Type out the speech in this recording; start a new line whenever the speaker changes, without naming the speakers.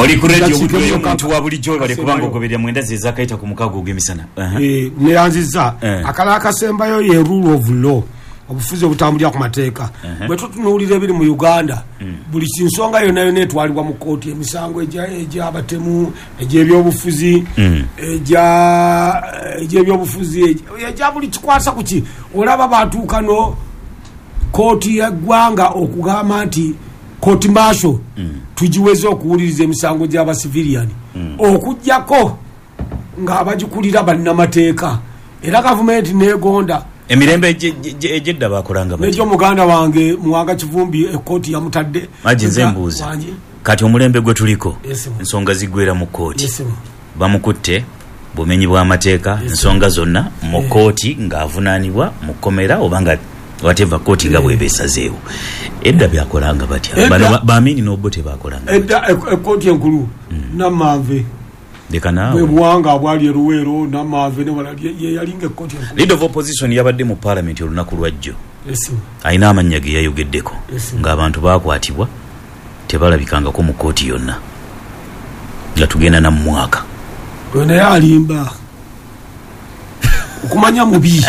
Oli ku radio Buddu ey'omuntu wa bulijjo webale kuba nga ogoberera mwenda ze ezakaita ku mukaaga ogw'emisana.
Eh, neyanzizza. Akalala akasembayo ye rule of law, obufuzi obutambulira ku mateeka. Bwe tutunuulira ebiri mu Uganda, buli nsonga yonna yonna etwalibwa mu kkooti, emisango egy'abatemu, egy'ebyobufuzi, egy'ebyobufuzi, egya buli kikwasa ku ki, olaba batuuka no kkooti y'eggwanga okugamba nti court martial tugiweze okuwuliriza emisango gy'abasiviliyani, okuggyako ng'abagikulira bannamateeka, era gavumenti negonda.
Emirembe egy'edda baakolanga batya?
N'egyo muganda wange Muwanga Kivumbi ekkooti yamutadde.
Maji nze mbuuza, kati omulembe gwe tuliko ensonga ziggwera mu kkooti? Bamukutte bumenyi bw'amateeka, ensonga zonna mu kkooti ng'avunaanibwa mu kkomera oba nga whatever kkooti nga bw'eba esazeewo. Edda byakolanga batya? Bano ba Amin n'Obote baakolanga batya?
Edda ekkooti enkulu Namanve.
Leka naawe.
Bwe buwanga abwali e Luweero, Namanve n'ewalala ye yalinga ekkooti enkulu.
Leader of Opposition yabadde mu Palamenti olunaku lwajjo. Alina amannya ge yayogeddeko ng'abantu baakwatibwa tebalabikangako mu kkooti yonna nga tugenda na mu mwaka.
Oyo naye alimba. Okumanya mubi.